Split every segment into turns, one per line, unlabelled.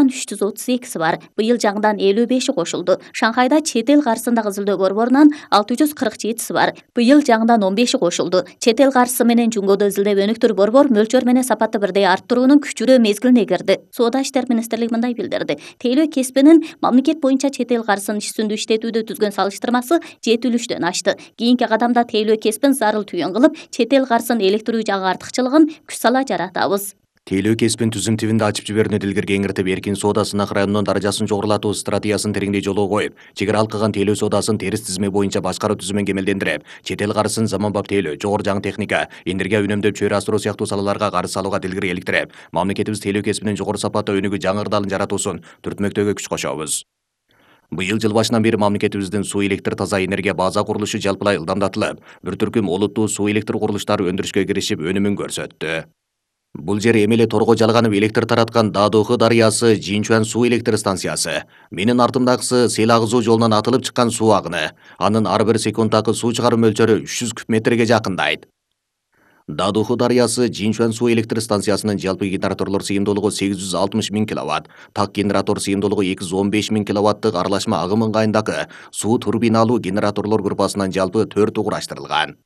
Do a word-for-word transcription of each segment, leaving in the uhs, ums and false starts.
үч жүз отуз экиси бар. Быйыл жаңыдан элүү беши кошулду. Шанхайда чет эл каршысындагы изилдөө борборунан алты жүз кырк жетиси бар. Быйыл жаңыдан он беши кошулду. Чет эл каршысы менен жумгоодо изилдеп өнүктүр борбор мөлчөр менен сапатты бирдей арттыруунун күчүрөө мезгилине кирди. Соода иштер министрлиги мындай билдирди. Тейлөө кесибинин мамлекет боюнча чет эл каршысын иш жүзүндө иштетүүдө түзгөн салыштырмасы жетилүүчтөн ашты. Кийинки кадамда тейлөө кесибин зарыл түйүн кылып, чет эл каршысын электирүү жагы артыкчылыгын күч сала жаратабыз.
Тейлөө кесибин түзүм тибинде ачып жиберүүнү дилгерге кеңиртип, эркин соода сынак районунун даражасын жогорулатуу стратегиясын тереңдей жолго коюп, чек ара алкаган тейлөө соодасын терс тизме боюнча башкаруу түзүмүн кемелдендирип, чет эл каржысын заманбап тейлөө, жогору жаңы техника, энергия үнөмдөп чөйрө астыруу сыяктуу салаларга карыз салууга дилгерге иликтирип, мамлекетибиз тейлөө кесибинин жогору сапаттуу өнүгүү жаңы ырдалын жаратуусун түртмөктөөгө күч кошобуз. Быйыл жыл башынан бери мамлекетибиздин суу электр таза энергия база курулушу жалпылай ылдамдатылып, бир түркүм олуттуу суу электр курулуштары өндүрүшкө киришип, өнүмүн көрсөттү. Бул жер эми эле торго жалганып электр тараткан Дадуху дарыясы Жинчуан суу электр станциясы. Менин артымдагысы сел агызуу жолунан атылып чыккан суу агыны. Анын ар бир секундтагы суу чыгаруу мөлчөрү үч жүз куб метрге жакындайт. Дадуху дарыясы Жинчуан суу электр станциясынын жалпы генераторлор сыйымдуулугу сегиз жүз алтымыш миң киловатт, так генератор сыйымдуулугу эки жүз он беш миң киловаттык аралашма агым ыңгайындагы суу турбиналуу генераторлор группасынан жалпы төртү кураштырылган.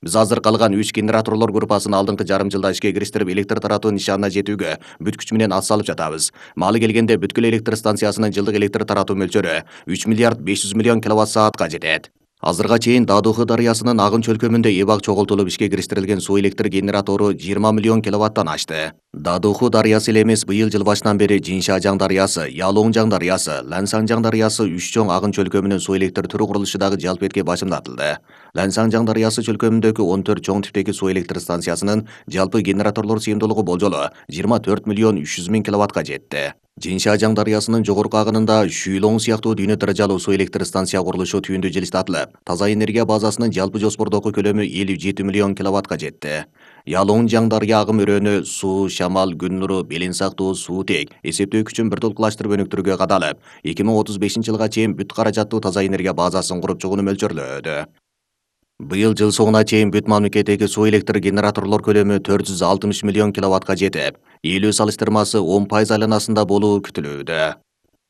Биз азыр калган үч генераторлор группасын алдыңкы жарым жылда ишке кириштирип, электр таратуу нишанына жетүүгө бүт күч менен ат салып жатабыз. Маалы келгенде бүткүл электр станциясынын жылдык электр таратуу мөлчөрү үч миллиард беш жүз миллион киловатт саатка жетет. Азырга чейин Дадуху дарыясынын агын чөлкөмүндө эбак чогултулуп ишке кириштирилген суу электр генератору жыйырма миллион киловаттан ашты. Дадуху дарыясы эле эмес, быйыл жыл башынан бери Жиншажаң дарыясы, Ялоңжаң дарыясы, Лансаңжаң дарыясы үч чоң агын чөлкөмүнүн суу электр түрү курулушу дагы жалпы этке башымдатылды. Лансаңжаң дарыясы чөлкөмүндөгү он төрт чоң типтеги суу электр станциясынын жалпы генераторлор сыйымдуулугу болжолу жыйырма төрт миллион үч жүз миң киловаттка жетти. Жиншажаң дарыясынын жогорку агынында Шүйлоң сыяктуу дүйнө даражалуу суу электр станция курулушу түйүндү жылыстатылып, таза энергия базасынын жалпы жоспордогу көлөмү элүү жети миллион киловаттка жетти. Ялоңжаң дарыя агым өрөөнү суу, шамал, күн нуру, белин сактоо, суутек эсептөө күчүн бир толкулаштырып өнүктүрүүгө кадалып, эки миң отуз бешинчи жылга чейин бүт каражаттуу таза энергия базасын куруп чыгууну мөлчөрлөөдө. Быйыл жыл соңуна чейин бүт мамлекеттеги суу электр генераторлор көлөмү төрт жүз алтымыш миллион киловаттка жетип, элүү салыштырмасы он пайыз айланасында болуу күтүлүүдө.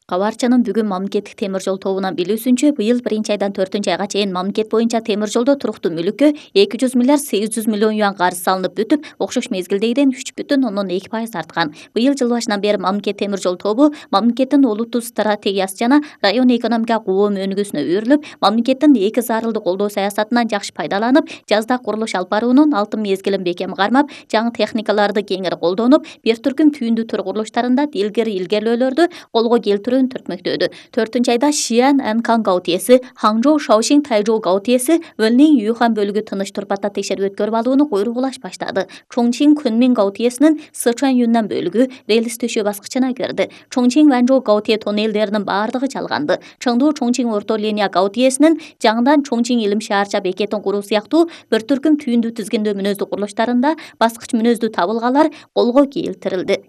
Кабарчанын бүгүн мамлекеттик темир жол тобунан билүүсүнчө, быйыл биринчи айдан төртүнчү айга чейин мамлекет боюнча темир жолдо туруктуу мүлүккө эки жүз миллиард сегиз жүз миллион юан карыз салынып бүтүп, окшош мезгилдегиден үч бүтүн ондон эки пайыз арткан. Быйыл жыл башынан бери мамлекет темир жол тобу мамлекеттин олуттуу стратегиясы жана район экономика коом өнүгүүсүнө үйрүлүп, мамлекеттин эки зарылды колдоо саясатынан жакшы пайдаланып, жазда курулуш алып баруунун алтын мезгилин бекем кармап, жаңы техникаларды кеңири колдонуп, бир түркүм түйүндү тур курулуштарында илгери илгерүүлөрдү колго келтирүү түртмөктөдү. төртүнчү айда Шиан Анкан гаутиеси, Ханчжоу Шаошин Тайжоу гаутиеси, Вэнлин Юхан бөлүгү тыныч турпатта текшерип өткөрүп алууну куйругулаш баштады. Чоңчин Кунмин гаутиесинин Сычуан Юннан бөлүгү релс төшөө баскычына кирди. Чоңчин Ванчжоу гаутие тоннелдеринин баардыгы жалганды. Чыңдуу Чоңчин орто линия гаутиесинин жаңыдан Чоңчин илим шаарча бекетин куруу сыяктуу бир түркүм түйүндү тизгиндөө мүнөздүү курулуштарында баскыч мүнөздүү табылгалар колго келтирилди.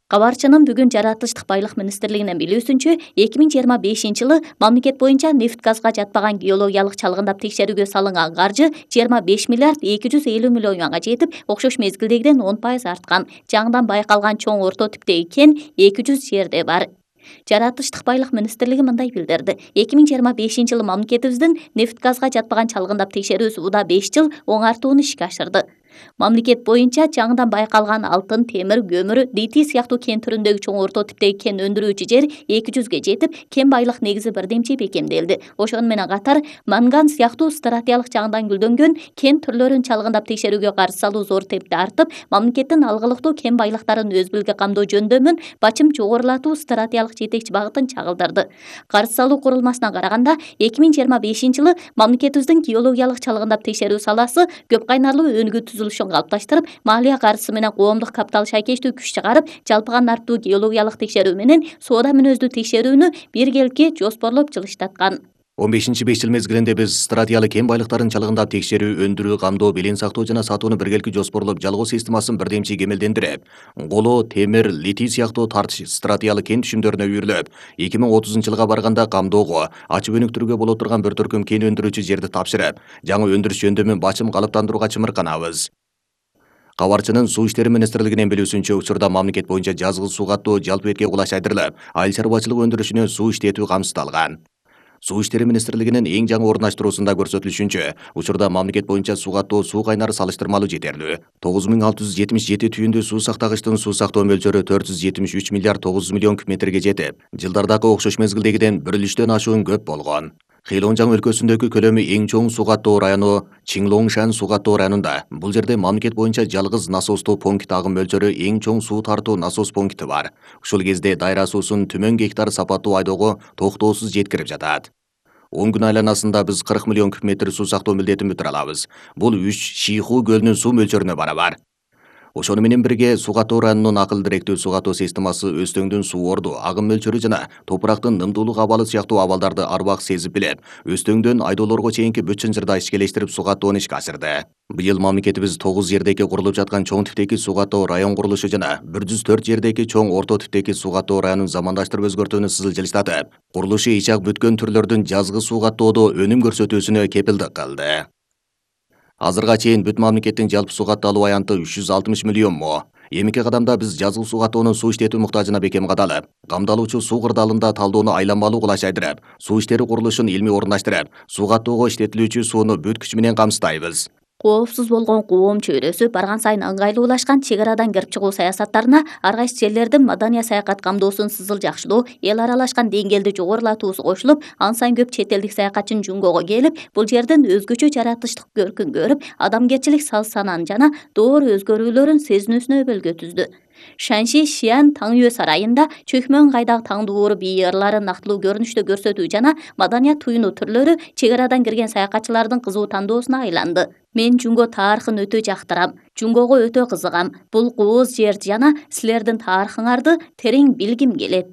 Кабарчанын бүгүн жаратылыштык байлык министрлигинин билүүсүнчө, эки миң жыйырма бешинчи жылы мамлекет боюнча нефть газга жатпаган геологиялык чалгындап текшерүүгө салынган каржы жыйырма беш миллиард эки жүз элүү миллион юанга жетип, окшош мезгилдегиден он пайыз арткан. Жаңыдан байкалган чоң орто типтеги кен эки жүз жерде бар. Жаратылыштык байлык министрлиги мындай билдирди. эки миң жыйырма бешинчи жылы мамлекетибиздин нефть газга жатпаган чалгындап текшерүүсү уда беш жыл оңартууну ишке ашырды. Мамлекет боюнча жаңыдан байкалган алтын, темир, көмүр, литий сыяктуу кен түрүндөгү чоң орто типтеги кен өндүрүүчү жер эки жүзгө жетип, кен байлык негизи бирдемчи бекемделди. Ошону менен катар манган сыяктуу стратегиялык жагынан гүлдөнгөн кен түрлөрүн чалгындап текшерүүгө каршы салуу зор темпте артып, мамлекеттин алгылыктуу кен байлыктарын өз билге камдоо жөндөмүн бачым жогорулатуу стратегиялык жетекчи багытын чагылдырды. Каршы салуу курулмасынан караганда, эки миң жыйырма бешинчи жылы мамлекетибиздин геологиялык чалгындап текшерүү саласы көп кайнарлуу өнүгүү түзүлүшүн калыпташтырып, маалия каржысы менен коомдук капитал шайкештүү күч чыгарып, жалпыган нарттуу геологиялык текшерүү менен соода мүнөздүү текшерүүнү биргеликке жоспорлоп жылыштаткан.
он бешинчи беш жыл мезгилинде биз стратегиялык кен байлыктарын чалгындап текшерүү, өндүрүү, камдоо, белен сактоо жана сатууну биргеликке жоспорлоп жалгоо системасын бирдемчи кемелдендирип, коло, темир, литий сыяктуу тарт стратегиялык кен түшүмдөрүнө үйрүлүп, эки миң отузунчу жылга барганда камдоого, ачып өнүктүрүүгө боло турган бир түркүм кен өндүрүүчү жерди тапшырып, жаңы өндүрүш жөндөмүн бачым калыптандырууга чымырканабыз. Кабарчынын Суу иштери министрлигинин билүүсүнчө, учурда мамлекет боюнча жазгы суу каттоо жалпы бетке кулаш айдырылып, айыл чарбачылык өндүрүшүнө суу иштетүү камсыздалган. Суу иштери министрлигинин эң жаңы орундаштыруусунда көрсөтүлүшүнчө, учурда мамлекет боюнча суу каттоо суу кайнары салыштырмалуу жетерлүү. тогуз миң алты жүз жетимиш жети түйүндүү суу сактагычтын суу сактоо мөлчөрү төрт жүз жетимиш үч миллиард тогуз жүз миллион куб метрге жетип, жылдардагы окшош мезгилдегиден бир үлүштөн ашуун көп болгон. Хэйлонжаң өлкөсүндөгү көлөмү эң чоң суу каттоо району Чинглонгшан суу каттоо районунда. Бул жерде мамлекет боюнча жалгыз насостуу пункт агым мөлчөрү эң чоң суу тартуу насос пункти бар. Ушул кезде дайра суусун түмөн гектар сапаттуу айдоого токтоосуз жеткирип жатат. он күн айланасында биз кырк миллион куб метр суу сактоо милдетин бүтүрө алабыз. Бул үч Шийху көлүнүн суу мөлчөрүнө барабар. Ошону менен бирге суу каттоо районунун акыл директүү суу каттоо системасы Өзтөңдүн суу орду, агым мөлчөрү жана топурактын нымдуулук абалы сыяктуу абалдарды ар убак сезип билип, Өзтөңдөн айдоолорго чейинки бүт чынжырда ишкелештирип суу каттоону ишке ашырды. Быйыл мамлекетибиз тогуз жердеги курулуп жаткан чоң типтеги суу каттоо район курулушу жана бир жүз төрт жердеги чоң орто типтеги суу каттоо районун замандаштырып өзгөртүүнү сызылчылыштатып, курулушу ичак бүткөн түрлөрдүн жазгы суу каттоодо өнүм көрсөтүүсүнө кепилдик кылды. Азырга чейин бүт мамлекеттин жалпы суу катталуу аянты үч жүз алтымыш миллион мо. Эмки кадамда биз жазгы суу каттоонун суу иштетүү муктажына бекем кадалып, камдалуучу суу кырдаалында талдоону айланмалуу кулаш айдырып, суу иштери курулушун илмий орундаштырып, суу каттоого иштетилүүчү сууну бүт күч менен камсыздайбыз.
Коопсуз болгон коом чөйрөсү барган сайын ыңгайлуулашкан чек арадан кирип чыгуу саясаттарына ар кайсы жерлердин маданий саякат камдоосун сызыл жакшылоо, эл аралашкан деңгээлди жогорулатуусу кошулуп, ан сайын көп чет элдик саякатчынын жунгого келип, бул жердин өзгөчө жаратылыштык көркүн көрүп, адамгерчилик сал-санааны жана доор өзгөрүүлөрүн сезинүүсүнө өбөлгө түздү. Шанши Шиан Таңюэ сарайында чөкмө ыңгайдагы таң дууру бий ырларын нактылуу көрүнүштө көрсөтүү жана маданият туюну түрлөрү чек арадан кирген саякатчылардын кызуу тандоосуна айланды. Мен Жунго тарыхын өтө жактырам, Жунгого өтө кызыгам. Бул кооз жер жана силердин тарыхыңарды терең билгим келет.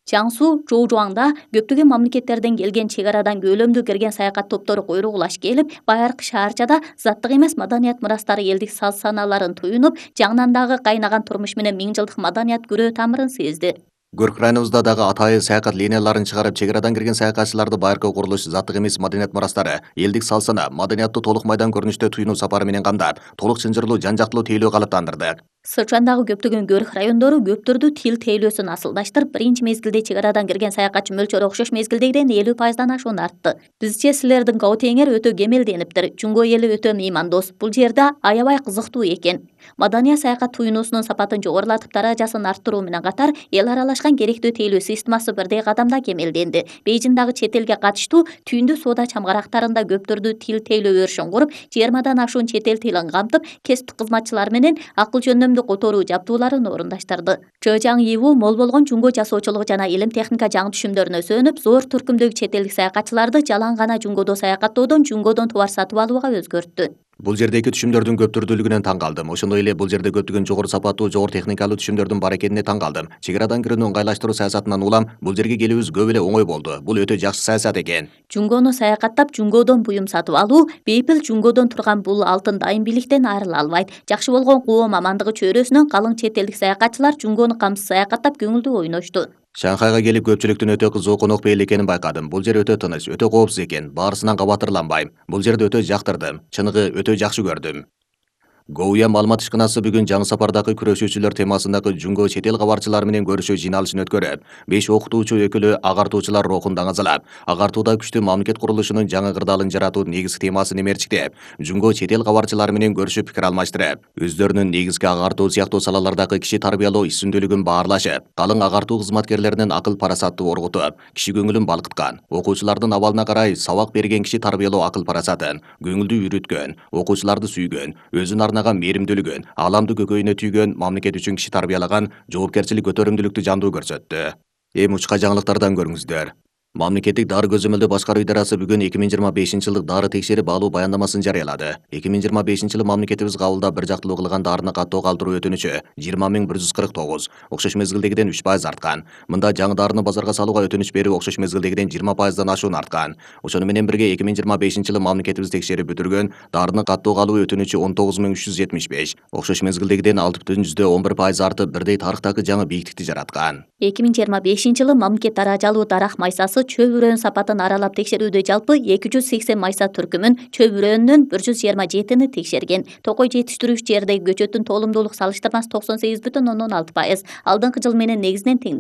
Чаңсу Жоужуаңда көптөгөн мамлекеттерден келген чек арадан көлөмдүү кирген саякат топтору куйругулаш келип, байыркы шаарчада заттык эмес маданият мурастары элдик сал-санааларын туюнуп, жаңынан дагы кайнаган турмуш менен миң жылдык маданият күрөө тамырын сезди.
Көрк районубузда дагы атайын саякат линияларын чыгарып, чек арадан кирген саякатчыларды байыркы курулуш, заттык эмес маданият мурастары, элдик сал-сана, маданиятты толук майдан көрүнүштө туюнуу сапары менен камдап, толук чынжырлуу, жан-жактылуу тейлөө калыптандырдык.
Сычуандагы көптөгөн көрк райондору көптөрдү тил тейлөөсүн асылдаштырып, биринчи мезгилде чек арадан кирген саякатчы мөлчөрү окшош мезгилдегиден элүү пайыздан ашуун артты. Бизче силердин Гаутеңер өтө кемелдениптир, Жунго эли өтө меймандос. Бул жерде аябай кызыктуу экен. Маданий саякат туюнуусунун сапатын жогорулатып, даражасын арттыруу менен катар, эл аралашкан керектүү тейлөө системасы бирдей кадамда кемелденди. Бейжиңдагы чет элге катыштуу түйүндүү соода чамгарактарында көптөрдү тил тейлөө өрүшүн куруп, жыйырмадан ашуун чет эл тилин камтып, кесиптик кызматчылар менен акыл жөндөмдү которуу жабдууларын орундаштырды. Чжэжаң Иву мол болгон Жунго жасоочулук жана илим техника жаңы түшүмдөрүнө сөөнүп, зор түркүмдөгү чет элдик саякатчыларды жалаң гана Жунгодо саякаттоодон Жунгодон товар сатып алууга өзгөрттү.
Бул жердеги түшүмдөрдүн көп түрдүүлүгүнөн таң калдым. Ошондой эле бул жерде көптөгөн жогору сапаттуу, жогору техникалуу түшүмдөрдүн бар экенине таң калдым. Чек арадан кирүүнү ыңгайлаштыруу саясатынан улам бул жерге келүүбүз көп эле оңой болду. Бул өтө жакшы саясат экен.
Жунгону саякаттап, Жунгодон буюм сатып алуу, бейпил Жунгодон турган бул алтын дайым бийликтен айрыла албайт. Жакшы болгон коом амандыгы чөйрөсүнөн калың чет элдик саякатчылар Жунгону камсыз саякаттап көңүлдүү ойношту.
Шанхайга келип көпчүлүктүн өтө кызуу конок бейил экенин байкадым. Бул жер өтө тыныч, өтө коопсуз экен. Баарысынан кабатырланбайм. Бул жерди өтө жактырдым. Чыныгы өтө жакшы көрдүм. Гоуя маалымат ишканасы бүгүн жаңы сапардагы күрөшүүчүлөр темасындагы Жунго чет эл кабарчылары менен көрүшүү жыйналышын өткөрүп, беш окутуучу өкүлү агартуучулар рухун даңазалап, агартууда күчтүү мамлекет курулушунун жаңы кырдаалын жаратуу негизги темасын эмерчиктеп, Жунго чет эл кабарчылары менен көрүшүп пикир алмаштырып, өздөрүнүн негизги агартуу сыяктуу салалардагы киши тарбиялоо иш-сүмдүүлүгүн баарлашып, калың агартуу кызматкерлеринин акыл парасатты оргутуп, киши көңүлүн балкыткан, окуучулардын абалына карай сабак берген киши тарбиялоо акыл парасатын, көңүлдү үйрөткөн, окуучуларды сүйгөн, өзүн мээримдүүлүгүн, ааламды көкөйүнө түйгөн, мамлекет үчүн киши тарбиялаган, жоопкерчилик көтөрүмдүүлүктү жандуу көрсөттү. Эми учка жаңылыктардан көрүңүздөр. Мамлекеттик дары көзөмөлдөө башкаруу идарасы бүгүн эки миң жыйырма бешинчи жылдык дары текшерип алуу баяндамасын жарыялады. эки миң жыйырма бешинчи жылы мамлекетибиз кабылдап бир жактылуу кылган дарыны каттоо калтыруу өтүнүчү жыйырма миң бир жүз кырк тогуз, окшош мезгилдегиден үч пайыз арткан. Мында жаңы дарыны базарга салууга өтүнүч берүү окшош мезгилдегиден жыйырма пайыздан ашуун арткан. Ошону менен бирге эки миң жыйырма бешинчи жылы мамлекетибиз текшерип бүтүргөн дарыны каттоого алуу өтүнүчү он тогуз миң үч жүз жетимиш беш, окшош мезгилдегиден алты бүтүн жүздө он бир пайыз артып, бирдей тарыхтагы жаңы бийиктикти жараткан.
эки миң жыйырма бешинчи жылы мамлекет даражалуу дарак майсасы чөп үрөөн сапатын аралап текшерүүдө жалпы эки жүз сексен майса түркүмүн, чөп үрөөнүнөн бир жүз жыйырма жетини текшерген. Токой жетиштирүүчү жердеги көчөттүн тоолумдуулук салыштырмасы токсон сегиз бүтүн ондон алты пайыз. Алдыңкы жыл менен негизинен теңдей